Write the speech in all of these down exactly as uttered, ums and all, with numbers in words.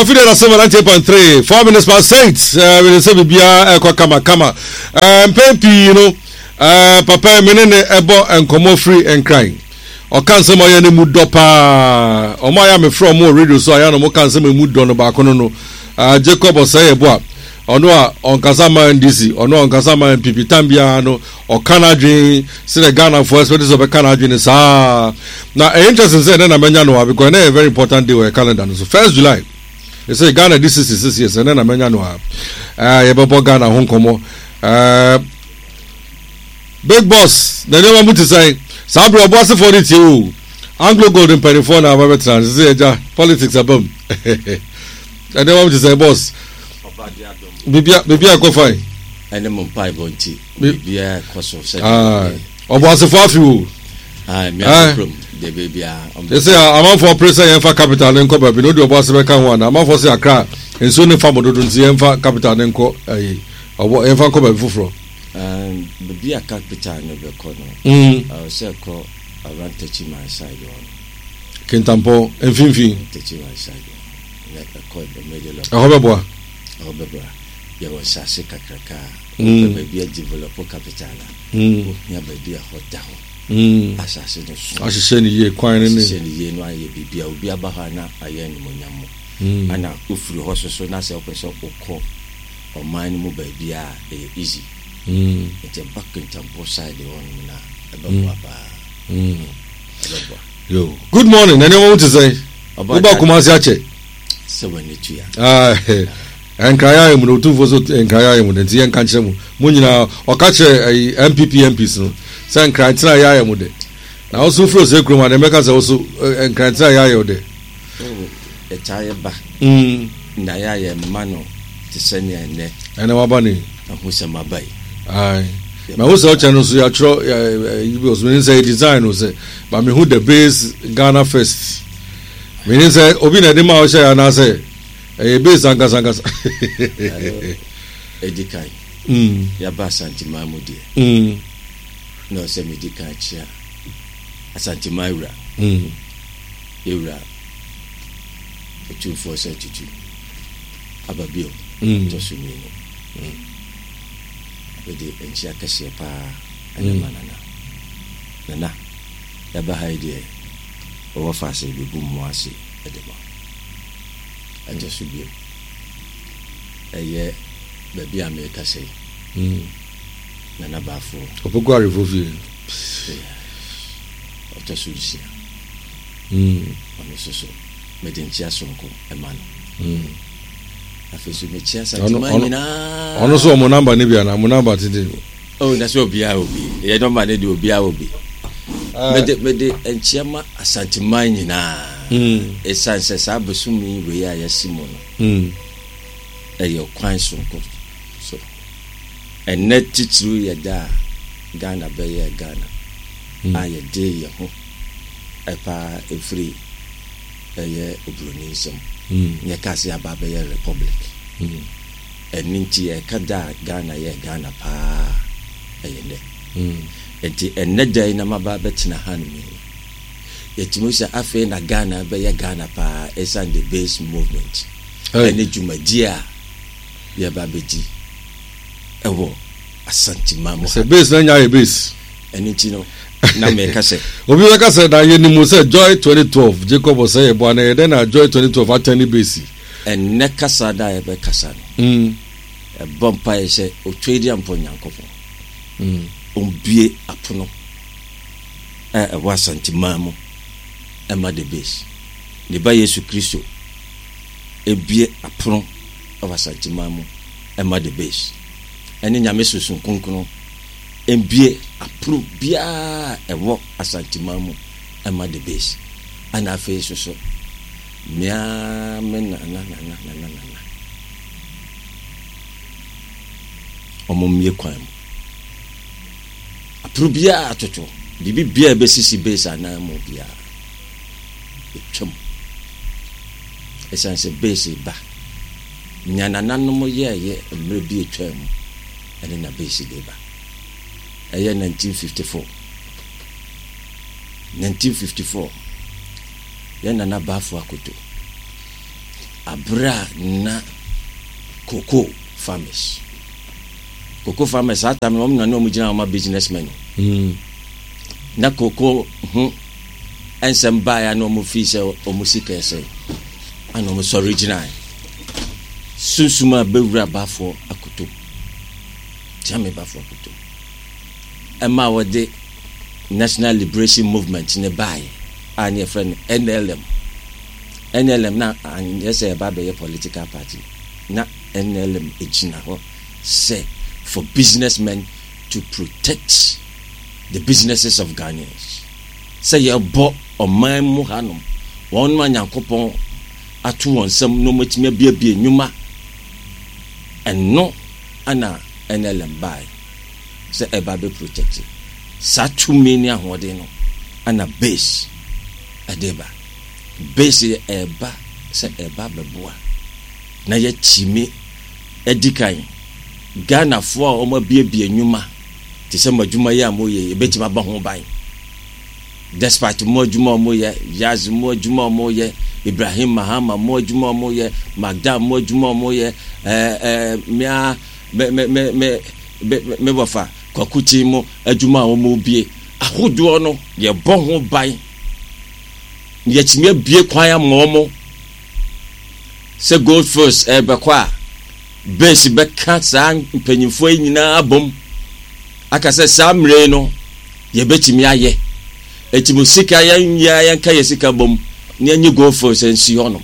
Afidie na sɛm ninety eight point three four minutes past eight ɛɛ wele sɛ biribiara ɛkɔ kamakama ɛɛ mpɛn pii no ɛɛ papa mi ne ne ɛbɔ nkɔmɔ firi Nkran. Ɔka nsɛm a ɔyɛ ne mu dɔ paa. Ɔmo a yɛ a mefrɛ ɔmo wɔ radio so a yɛ a na ɔmo ka nsɛm a emu dɔ no baako no no ɛɛ Jacob Ɔsɛyɛboa, ɔno a ɔnkasa ma N D C, ɔno a ɔnkasa ma N P P, tam biara no ɔka n'adwene sɛdeɛ Ghanafoɔ expect sɛ ɔbɛka n'adwene saa. Na ɛyɛ interesting sɛ ɛnɛ na mɛnya no a, because ɛnɛ yɛ very important day wɔ yɛ calendar no so, first July. Ɛsɛ Ghana di sixty six years. Ɛnɛ na mɛnya no a ɛɛ yɛbɛbɔ Ghana ho nkɔmɔ. ɛɛ big boss, na nneɛma mu te sɛn saa bere? Ɔbɔ asefoɔ no tie o. Anglo Gold mpanimfoɔ na aba bɛtena sɛ ɛgya politics aba mu. Nneɛma mu te sɛn, boss? Bibia bibia kɔ fine? Ɛne mo mpaebɔ nti, biribiara kɔ so sɛ ɔbɔ asefoɔ afi o. Kurom de biribiara. Ɛsɛ amanfoɔ pere sɛ yɛmfa capital ne nkɔ baabi na wode ɔbɔ ase bɛka ho ana. Amanfoɔ sɛ Akra nsuo ne fa mo dodo, nti yɛmfa capital ne nkɔ ayi ɔbɔ, yɛmfa nkɔ baabi foforɔ. Baabi a capital no bɛkɔ no, Mm. ɛwɔ sɛ ɛkɔ around Techiman side hɔ no. Kintampɔ mfimfini. Techiman side hɔ na ɛkɔ the middle of ɛhɔ bɛboa. Ɛhɔ bɛboa. Yɛwɔ nsase kakraka a Mm. wopɛ baabi a develop capital a, Mm. wohia baabi a hɔ da hɔ, Mm. asase no so ahyehyɛ ne yie, kwan ne ne ahyehyɛ ne yie no, ayɛ biribi a obi aba hɔ a na ayɛ animonyam mu. Mm. Ana wofiri hɔ soso na sɛ wopɛ sɛ wokɔ ɔman no mu baabi a, ɛyɛ easy. Mm. Nti ɛba Kintampo side hɔ nom no a, ɛbɛboa paa. Mm. Ɛbɛboa. Yo, good morning. Na nneɛma mu te sɛn? Ɔba woba da- Kumase akyɛ. Sɛ w'ani tua. Ah, Nkran ayɛ mu no, Otumfoɔ so Nkran ayɛ mu no, nti yɛnka nkyerɛ mu mo nyinaa. Ɔka kyerɛ ɛyi N P P M Ps no sɛ Nkran tena yɛ ayɛ mu de, na woso firi ose kurom a deɛ mɛka sɛ woso Nkran tena yɛ ayɛ wo de. Ɛtaa yɛ ba Mm. na yɛ ayɛ mma no te sɛ nea ɛnɛ Ɛnɛ waba ne ɛho sɛ maba yi. Ayi, na wo sɛ ɔkyɛ no nso yɛatwerɛ ɛyi bi ɔso menim sɛ yɛ design no sɛ ba mehu the base Ghana first. Menim sɛ obi na ɛde ma ɔhyɛ yɛ anaasɛ ɛyɛ base ankasa ankasa. Ɛdi kan, Mm, yɛaba Asanteman mu deɛ, mm, na ɔsɛ medi kan kyea Asanteman wura, mm. yɛwura Otumfoɔ sɛ Tutu aba bio. Mm. Tɔ so mmienu, mede nkyia kɛseɛ paa ɛne ma nana. Nana, yɛaba ha yi deɛ, wɔwɔ fa ase bɛbu mmoa ase ɛde ma. Ɛtɔ so bio, ɛyɛ baabi a merekasa yi, Mm. Nana Baafoɔ. Ɔpɛkɔ arefo fie. Ɔtɔ so nsia, Mm, ɔno nso so mede nkyia sononko ɛma no. mm. Afei so mekyia Ɔno- Santeman ɔno- nyinaa. Ɔno nso ɔmo number ne bi ana mo number tete? Oh, na sɛ obiara wɔ bi, ɛyɛ number ne deɛ, obiara wɔ bi. Mede mede nkyia ma Asanteman nyinaa, Mm, ɛsiane sɛ saa bosome wei a yɛasi mu no, mm, ɛyɛ kwan sononko so. Ɛnɛ titiriw yɛ da a Ghana bɛyɛ Ghana, Mm. a yɛde yɛn ho ɛpaa ɛfiri ɛyɛ oburoni nsam, mm, yɛka sɛ yɛaba bɛyɛ republic. mm, Ɛno nti yɛka da a Ghana yɛ Ghana paa, ɛyɛ nnɛ. mm. Nti ɛnnɛ da yi na maba bɛtena ha nom yi, yɛtumi sɛ afei na Ghana bɛyɛ Ghana paa, ɛsiane the base movement Hey. ɛne dwumadie a yɛba bɛdi ɛwɔ Asanteman mu ha. Sɛ base na nya yɛ base. Ɛno nti no na meka sɛ Obi bɛka sɛ na yɛnim sɛ Joy twenty twelve Jacob ɔsɛ yɛ boa na yɛ dɛn na Joy twenty twelve atɛn ne base? Ɛnnɛ kasa da a yɛbɛkasa no, Mm, ɛbɔ mpaeɛ sɛ Otwadiampɔ Nyankopɔn mm, ɔmbue apono a ɛwɔ Asanteman mu ɛma the base, ne ba Yesu Kristo ebue apono ɛwɔ Asanteman mu ɛma the base, ɛne Nyame Sunsum Kronkron mbue apono biara ɛwɔ Asanteman mu ɛma the base. Ɛna afei nso so mmea me nana nana nana nana ɔmo mmie kwan mu, apono biara atoto, biribi biara bɛsisi base anan mu biara ɛtwam, ɛsiane sɛ base ba nea nananom yɛɛyɛ mmerɛ bi atwa mu, ɛne na base de ba. Ɛyɛ nineteen fifty-four, nineteen fifty-four, yɛn nana Baafo Akoto Abere a na cocoa farmers cocoa farmers saa time no, wɔn na ne wɔn gyina wɔn ma businessmen no. Mm. Na cocoa ho nsɛm baeɛ a, na wɔn fi sɛ wɔn sika ɛsɛ ana wɔn sɔre gyinae. Sunsum a bɛwura bafoɔ akoto Kyame Bafoɔ Akoto ɛma wɔde National Liberation Movement ne baeɛ a ne yɛfrɛ no N L M. N L M na anyɛ sɛ ɛba bɛyɛ political party. Na N L M gyina hɔ sɛ for businessmen, to protect the businesses of Ghanaians, sɛ yɛbɔ ɔman mu hanom wɔn a Nyankopɔn ato wɔn nsam na wɔatumi abiebie nnwuma. Ɛno ana N L M bae sɛ ɛba bɛ protect saa tumi ne ahoɔden no. Ana base ɛde ba, base yɛ ɛba sɛ ɛba bɛboa na yɛtumi adi kan Ghanafoɔ a wɔn abiebie nnwuma te sɛ mo adwuma yi a moyɛ, yɛbɛtumi abɔ ho ban despite mo adwuma a wɔyɛ, Yaz mo adwuma a wɔyɛ, Ibrahim Mahama mo adwuma a wɔyɛ, Magda mo adwuma a wɔyɛ, ɛɛ ɛɛ mmea me me me me me me wɔfa Kwakuti mo adwuma a wɔn ahodoɔ no, yɛbɔ ho ban na yɛtumi abie kwan ama wɔn sɛ Gold Fields ɛbɛkɔ a, base bɛka saa mpanyinfoɔ yi nyinaa abom aka sɛ saa mmerɛ yi no yɛbɛtumi ayɛ. Eti mo sika, yɛn nyinaa yɛnka yɛ sika bom na yɛnye Gold Fields nsi hɔnom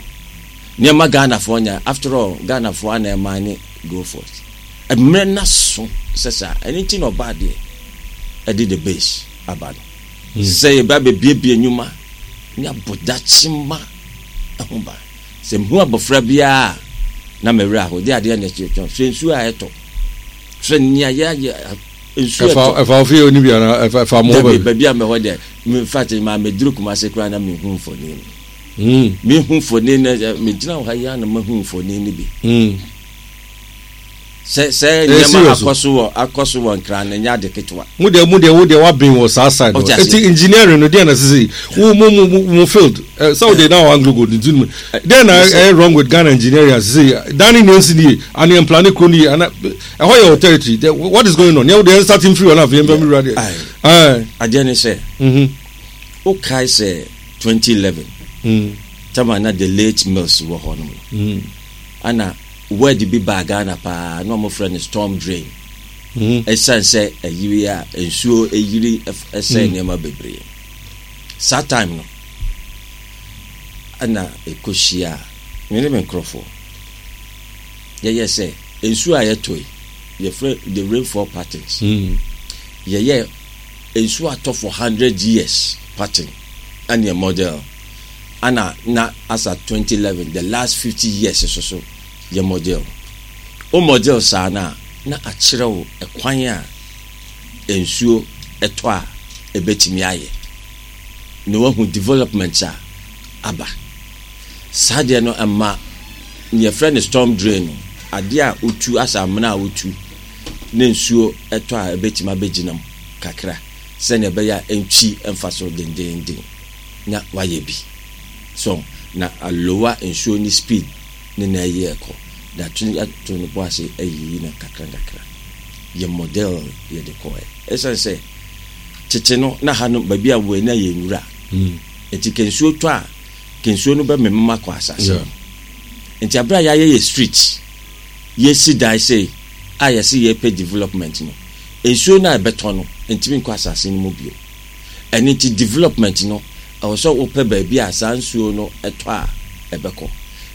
nneɛma Ghanafoɔ nya. After all, Ghanafoɔ ana ɛman ne Gold Fields. Mmerɛ na so sɛ saa ɛno nti na ɔbaa deɛ ɛde the base aba no sɛ yɛba bɛbiebie nnwuma ne abɔdakyema ho ban. Sɛ mehu abɔfra biara na mɛwerɛ aho de adeɛ na ɛkyerɛkyerɛ. Hwɛ nsuo a ɛtɔ, hwɛ nea yɛayɛ, nsuo ɛtɔ. Ɛfa ofie oni bi ana ɛfa ɛfa mo hɔ? Dabi, baabi a mɛhɔ deɛ, in fact, maa mɛduru Kumase koraa na mehu mfoni no. Mm. Mehu mfoni no, megyina wɔ ha yi a na mahu mfoni no bi. Mm. Sɛ sɛ nneɛma akɔ so wɔ akɔ so wɔ Nkran no nyɛ ade ketewa. Mo deɛ mo deɛ wo deɛ wabɛn wɔ saa side no. Eti engineering no deɛ na sisi wo mo mo mo field ɛ sɛ wo deɛ na wɔ Anglo Gold nti no deɛ na ɛyɛ wrong with Ghana engineering asisi dan ne nea nsi nie ani mplane kuro nie ana ɛhɔ yɛ wɔ territory? What is going on? Nea wo deɛ starting free wɔn afei nfɛn mi wura deɛ. Adeɛ ne sɛ o kae sɛ twenty eleven tama na the late Mills wɔ hɔ nom no, ana word bi baa Ghana paa na wɔn frɛ no storm drain. Ɛsiane sɛ ɛyiri a nsuo ɛyiri ɛsɛ nneɛma bebree saa time no, ɛna ɛkɔhyia a me ne me nkurɔfoɔ yɛyɛ sɛ nsuo a yɛtɔ yi, yɛfrɛ the rainfall patterns. Yɛyɛ nsuo atɔ for hundred years pattern ɛne model, ana na asa twenty eleven, the last fifty years so so yɛ model. O model saa na na akyerɛ wo ɛkwan a nsuo ɛtɔ a ɛbɛtumi ayɛ na wahu development a aba. Saa deɛ no ɛma yɛfrɛ no storm drain no, adeɛ a wotu asa amena a wotu na nsuo ɛtɔ a ɛbɛtumi abɛgyina mu kakra sɛnea ɛbɛyɛ a ɛntwi ɛmfa so dendenden na wayɛ bi so na alower nsuo ne speed ne na ɛyɛ ɛkɔ na ato ato ne bo ase ayiyi no kakra kakra. Yɛ model yɛde kɔɛ ɛsiane sɛ tete no na ha no baabi a wɔ ani ayɛ nwura nti kɛ nsuo tɔ a, kɛ nsuo no bɛmemem akɔ asase no. Nti abere a yɛayɛ yɛ street, yɛsi dan sei a yɛsi yɛpɛ development no, nsuo no a ɛbɛtɔ no ntumi nkɔ asase no mu bio. Ɛno nti development no ɛwɔ sɛ wopɛ baabi a saa nsuo no ɛtɔ a ɛbɛkɔ.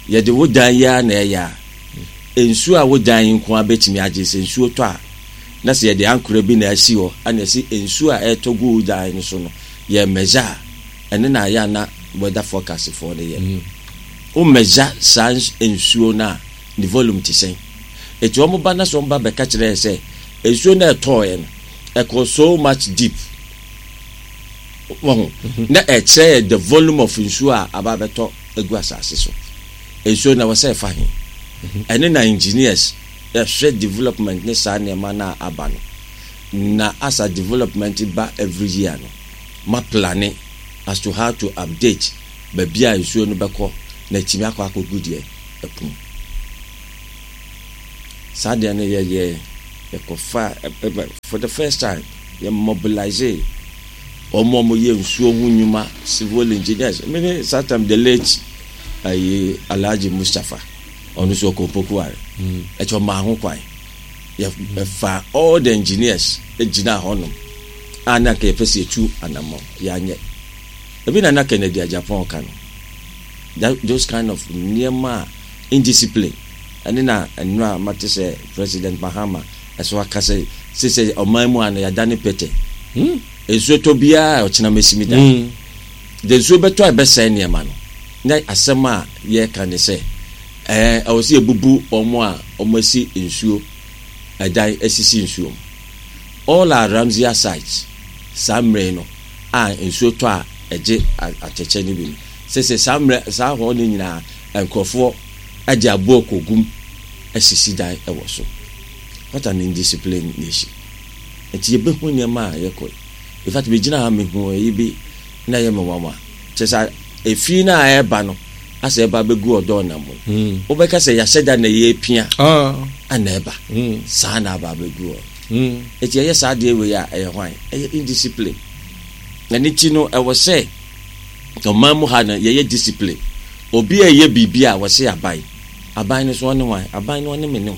Yɛde wo dan yi ara na ɛyɛ a nsuo a wo dan yi nko ara bɛtumi agye. Sɛ nsuo tɔ a, na sɛ yɛde ankora bi na asi hɔ ana ɛsi nsuo a ɛtɔ gu wo dan no so no, yɛ measure a ɛno na ayɛ ana weather forecast foɔ no yɛ. Wo measure saa nsuo no a ne volume te sɛn. Eti wɔn ba na sɛ wɔn ba bɛka kyerɛ yɛ sɛ nsuo no ɛtɔɔɛ no ɛkɔ so much deep wɔn na ɛkyerɛ yɛ the volume of nsuo a aba abɛtɔ egu asase so. Nsuo na wɔsɛ ɛfa he, ɛne na engineers ɛhwɛ development ne saa nneɛma na aba no na asa development ba every year no, ma plan as to how to update baabi a nsuo no bɛkɔ na etimi akɔ akɔgu deɛ Ɛpo mu. Saa deɛ no yɛyɛ yɛkɔfa ɛ- for the first time yɛ mobilize wɔn a wɔyɛ nsuo ho nnwuma, civil engineers. Mene saa time the late ayi Alhaji Mustapha, ɔno nso ɔkɔ Opokuware, ɛkyɛ ɔmaa ho kwan yɛfa all the engineers gyina hɔnom a na nka yɛpɛ sɛ yɛtu anammɔ. Yɛanyɛ ebi na na Kennedy Agyapong ka no, that those kind of nneɛma a indiscipline ɛne na nnura mate sɛ President Mahama ɛso aka sɛ sɛ ɔman mu a no yɛada ne pɛtɛ nsuo tɔ biara a ɔkyena mɛsi mi da de nsuo bɛtɔ a ɛbɛsɛe nneɛma no. Na asɛm a yɛreka ne sɛ ɛɛ ɛwɔ sɛ yɛbubu wɔn a wɔn asi nsuo ɛdan asisi nsuo mu. All our Ramsar sites saa mmerɛ no a nsuo tɔ a ɛgye atɛkyɛ no bi no, sɛ saa mmerɛ saa hɔ no nyinaa nkurɔfoɔ ɛde aboɔ kɔgum asisi dan ɛwɔ so. What an indisciplined nation! Nti yɛbɛhu nneɛma a yɛkɔ. In fact, megyina ha mehu ɛyi bi na ɛyɛ me nwanwa kyɛ sɛ efi no a ɛreba no asɛ ɛba bɛgu ɔdɔɔ nam mu. Wobɛka sɛ yɛahyɛ da na yɛpia ana ɛba saa na aba abɛgu hɔ. Eti ɛyɛ saa adeɛ wei a ɛyɛ hwan? Ɛyɛ indiscipline. Na ne ti no ɛwɔ sɛ ɔman mu ha no yɛyɛ discipline. Obi a ɛyɛ biribi a wɔse aban aban no so ɔne hwan? Aban no ɔne me ne wo.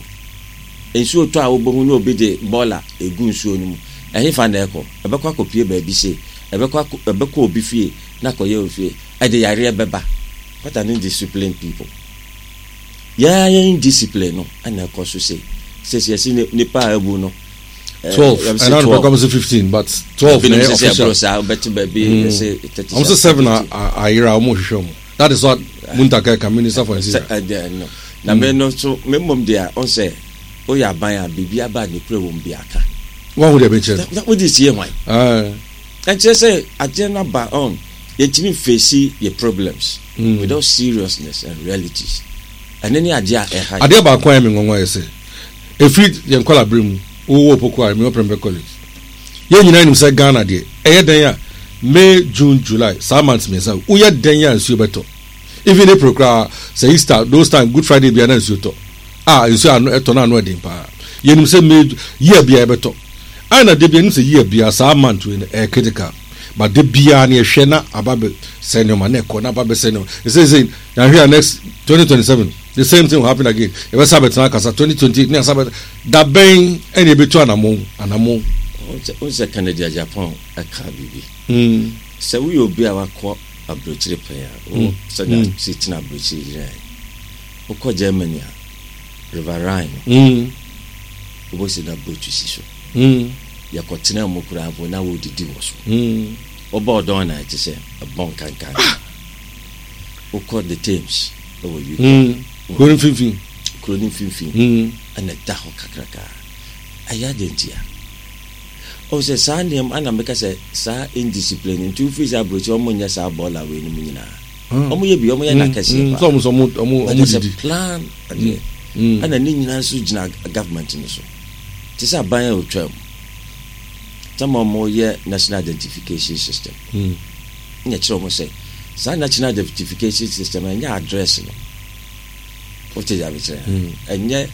Nsuo tɔ a wobɛhu ne obi de bɔɔla egu nsuo no mu. Ɛhefa na ɛkɔ? Ɛbɛkɔ akɔpie baabi se ɛbɛkɔ ɛbɛkɔ obi fie na akɔyɛ obi fie, ɛde yareɛ bɛba. What an indisciplined people! Yɛn yɛn indiscipline no ɛna ɛkɔ so se sɛ yɛsi nipa a ewu no. Twelve ɛna no pɛkɔ sɛ fifteen, but twelve na ɛyɛ official. Saa wobɛte baabi yɛsɛ thirty. Ɔmo sɛ seven ayera, ɔmo hwehwɛ ɔmo. That is what Muntaka ka, Minister for Interior. Ɛdɛ no na me no so me mmom deɛ ɔn sɛ woyɛ aban a biribi aba a ne kura wɔm bi aka. Wɔn ho deɛ bɛkyerɛ no. Wode sie hwan? Ɛnkyerɛ sɛ adeɛ no aba ɔn yɛntumi face yɛ problems mm. without seriousness and realities. Ɛne ne adeɛ a ɛha. Adeɛ baako a ɛyɛ me nwanwa yɛ sɛ ɛfiri yɛn nkɔla bere mu, wowɔ Opoku a mewɔ Prempeh College, yɛn nyinaa nim sɛ Ghana deɛ ɛyɛ dɛn a May, June, July, saa months mmiɛnsa, woyɛ dɛn a nsuo bɛtɔ. Even April koraa sɛ Easter those time, Good Friday bia na nsuo tɔ a nsuo ano ɛtɔ no ano ɛden paa. Yɛnim sɛ May year bia ɛbɛtɔ ɛna de bia nim sɛ year bia saa month wei no ɛyɛ critical, but de bia ne yɛhwɛ na aba bɛ sɛ nneɛma na ɛkɔ na aba bɛ sɛ nneɛma. Ɛsɛ sɛ yɛahwɛ a next twenty twenty-seven the same thing will happen again. Yɛbɛsa bɛtena akasa twenty twenty-eight ne asa bɛ da bɛn ɛna yɛbɛtu anamo anamo. Wo sɛ Kennedy Agyapong ɛka biribi sɛ woyɛ obi a wakɔ aburokyire pɛn a wo sɛdeɛ si tena aburokyire gyina yi, wokɔ Germany a, River Rhine no wobɛsi na boat si so. Yɛkɔtena mu koraa mpo na wodidi wɔ so. Wobɔ ɔdɔn na ɛte sɛ ɛbɔn kankan. Wokɔ the Thames ɛwɔ U K. Kuro no mfimfini. Kuro no mfimfini ɛna ɛda hɔ kakraka. Ɛyɛ ade ntia ɔwɔ sɛ saa nneɛma ana meka sɛ saa indiscipline nti wofiri sɛ aburokyi ɔmo nyɛ saa bɔɔla wei no mu nyinaa. Ɔmo yɛ bi, ɔmo yɛ n'akɛseɛ paa. Sɛ ɔmo sɛ ɔmo ɔmo but ɔmo there's a didi plan adeɛ ɛna ne nyinaa nso gyina government no so te sɛ aban a otwa mu tɛma ɔmo yɛ national identification system ɛna kyerɛ ɔmo sɛ saa national identification system ɛnyɛ address no. Wote deɛ abekyerɛ? Ɛnyɛ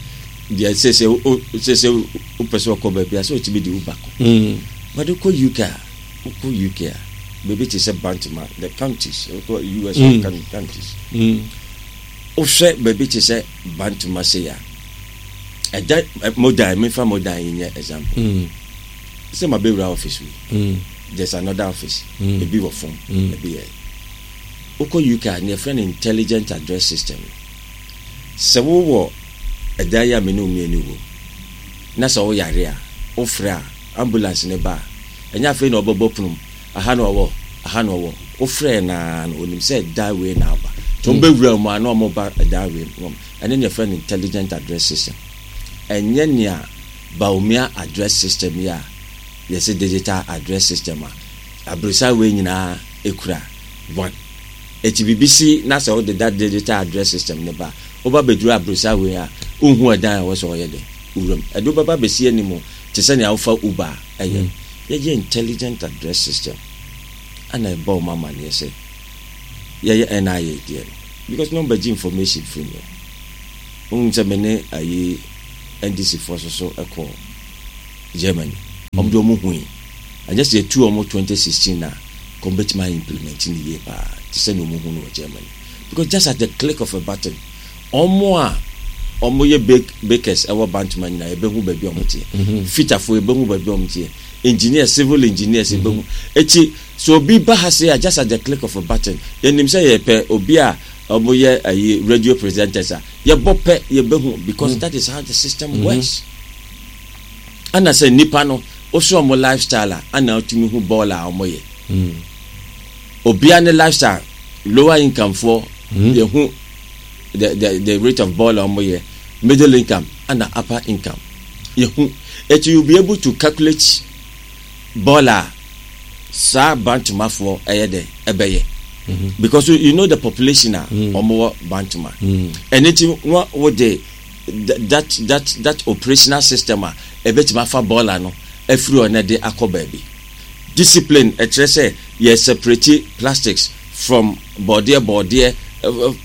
deɛ sese o sese wopɛ sɛ ɔkɔ baabi a sɛ otumi de Uber kɔ, but wokɔ U K a wokɔ U K a baabi te sɛ Bantama, the counties, wokɔ U S mm. counties, wohwɛ baabi te sɛ Bantama sei a ɛda Modan, mefa Modan yi nyɛ example sɛ ma bɛwura office wei, there's another office, ebi wɔ fam, ebi yɛ. Wokɔ U K a, ne yɛfrɛ no intelligent address system. Sɛ wowɔ ɛdan yi a me ne wo mmienu wɔ na sɛ woyare a, wofrɛ a ambulance ne ba a, ɛnyɛ afei na ɔbɛbɔ pono mu, aha na ɔwɔ, aha na ɔwɔ. Wofrɛ naa no onim sɛ ɛdan wei na aba nti wɔn bɛwura mu a na wɔn ba ɛdan wei mu. Ɛne ne yɛfrɛ no intelligent address system. Ɛnyɛ nea Bawumia address system yi a yɛsɛ digital address system a aburusa wei nyinaa ekura one. Eti biribi si na sɛ wode that digital address system ne ba, woba bɛduru aburusa wei a wohu ɛdan a ɛwɔ sɛ ɔyɛ dɛ wuram ɛde wobɛba bɛsi anim te sɛ nea wofa Uber a ɛyɛ. Yɛyɛ intelligent address system ana ɛbɔ wɔn amaneɛ sɛ yɛyɛ N I A deɛ no because na wɔbɛgye information firi mi. Wohu sɛ me ne ayi N D C foɔ so so ɛkɔ Germany, ɔmo de ɔmo hui anyɛ sɛ yɛtu ɔmo twenty sixteen na kɔn bɛtumi ayɛ implement ne yie paa te sɛ na ɔmo hu no wɔ Germany, because just at the click of a button, ɔmo a ɔmo yɛ bake bakers ɛwɔ Bantama nyinaa, yɛbɛhu baabi a ɔmo teɛ. Fitafoɔ, yɛbɛhu baabi a ɔmo teɛ. Engineers, civil engineers, yɛbɛhu. Eti so obi ba ha se a, just at the click of a button, yɛnim sɛ yɛpɛ obi a ɔmo yɛ ayi radio presenters a, yɛbɔ pɛ, yɛbɛhu, because that is how the system works. Ɛna sɛ nipa no woso ɔmo lifestyle a, ana ɔtumi hu bɔɔl a ɔmo yɛ. Obia ne lifestyle, lower income foɔ, yɛhu the the the rate of bɔɔl a ɔmo yɛ, middle income ana upper income yɛhu. Eti you be able to calculate bɔɔl a saa Bantomafoɔ ɛyɛ dɛ ɛbɛyɛ, because you, you know the population a ɔmo wɔ Bantoma. Ɛne ti wɔn wo de that that that operational system a ɛbɛtumi afa bɔɔla no afiri hɔ na de akɔ baabi. Discipline ɛkyerɛ sɛ yɛ separate plastics from bɔɔdeɛ bɔɔdeɛ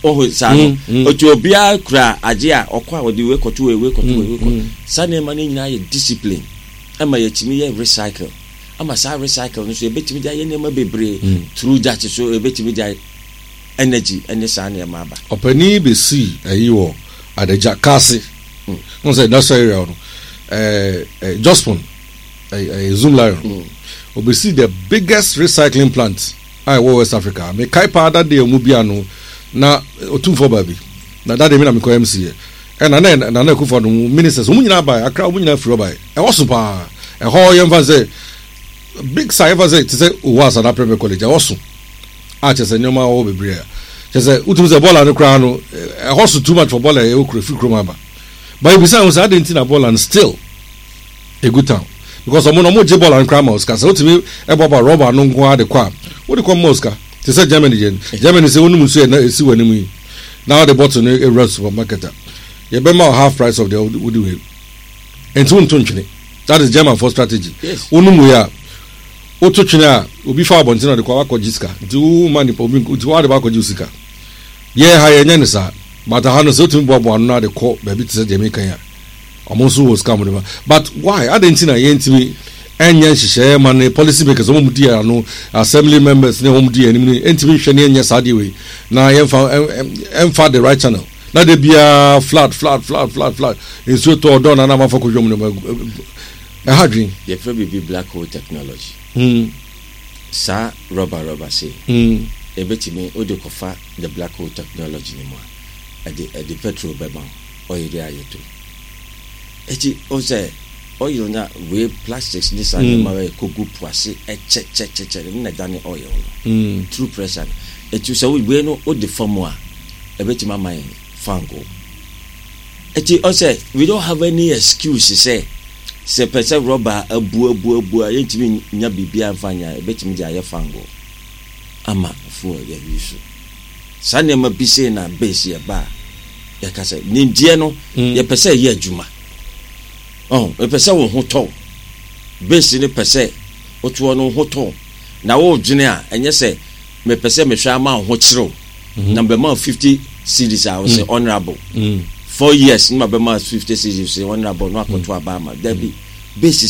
ɔho saa no. Otu obiara kura agye a ɔkɔ a, ɔde wei kɔto wei, wei kɔto wei, wei kɔ saa. Nneɛma no nyinaa yɛ discipline ɛma yɛtumi yɛ recycle, ama saa recycle no so yɛbɛtumi de ayɛ nneɛma bebree through that, so yɛbɛtumi de ayɛ energy ɛne saa nneɛma aba. Ɔpanin bɛsii ayi wɔ Adagya Kaase n sɛ industrial area hɔ no, ɛɛ ɛɛ Jospong, ɛɛ ɛɛ Zoomlion mm. Obesi the biggest recycling plant a ɛwɔ West Africa. Mekae paa dade a ɔmu bia no na Otumfoɔ baabi na dade mi na mekɔ M C yɛ, ɛna na Nana Akufo Addo ministers wɔn nyinaa bae. Akra wɔn nyinaa firi hɔ bae. Ɛhɔ so paa. Ɛhɔ yɛmfa sɛ big site, yɛmfa sɛ te sɛ Owo Asana Private College. Ɛhɔ so a kyerɛ sɛ nneɛma wɔ bebree a kyerɛ sɛ wotumi sɛ bɔɔla no koraa no, ɛhɔ so too much for bɔɔla. Ɛwɔ kuro firi kurom aba but ebisa ho sɛ adi nti na bɔɔla no still egu town, because ɔmo no ɔmo gye bɔɔla no koraa ma osika sɛ wotumi ɛbɔbɔ rɔba no nko ara de kɔ a, wode kɔ ma osika te sɛ Germany deɛ. Germany sɛ wonum nsuo yɛ na esi wɔ anim yi na wɔde bottle no ewura supermarket a, yɛbɛma wo half price of the wode wei nti wonto ntwene. That is German for strategy. Wonum wei a woto twene a, obi fa abɔnten na ɔde kɔ akɔgye sika, nti wo ma nipa obi nti wɔde ba akɔgye sika. Yɛ ha yɛnyɛ ne saa, but ha no sɛ wotumi boaboa ano na de kɔ baabi te sɛ deɛ meka yi a, ɔmo nso wɔ sika ɔmo de ma. But why adi nti na yɛntumi ɛnyɛ nhyehyɛeɛ ma ne policy makers, ɔmo mu di ano, assembly members ne ɔmo di anim ne ntumi nhwɛ ne ɛnyɛ saa deɛ wei na yɛmfa ɛmfa the right channel na de biara flood, flood, flood, flood, flood, nsuo tɔ ɔdɔn na anam afa kɔdwom ne ɛha dwen? Yɛfrɛ biribi black hole technology. Mm. Saa rɔba rɔba sei, Mm. ɛbɛtumi wode kɔfa the black hole technology no mu a, ɛde ɛde petrol bɛma wo, oil a yɛto ɛti o sɛ oil na wei plastics ne saa nneɛma wei kɔgu po ase ɛkyɛkyɛkyɛkyɛ ne na ɛdane oil no Mm. through pressure no. Ɛti sɛ wei no wode fa mu a, ɛbɛtumi ama yɛn fango. Ɛti ɔsɛ we don't have any excuse sɛ sɛ pɛ sɛ rɔba abu abu abu a, yɛntumi nya biribiara mfa nya. Ɛbɛtumi de ayɛ fango ama fuel yɛyi so. Saa nneɛma bi sei na base yɛ ba a, yɛka sɛ nimdeɛ no, Mm. yɛpɛ sɛ ɛyɛ adwuma ɔn yɛpɛ sɛ wo ho tɔw base no, pɛ sɛ wotoɔ no wo ho tɔw na wodwene a, ɛnyɛ sɛ mepɛ sɛ mehwɛ ama wo ho kyerɛw na mbɛma wo fifty cedis a wo sɛ honourable Mm. four years ne ma bɛma fifty cedis sɛ honourable no akɔto aba ama. Dabi, base sɛ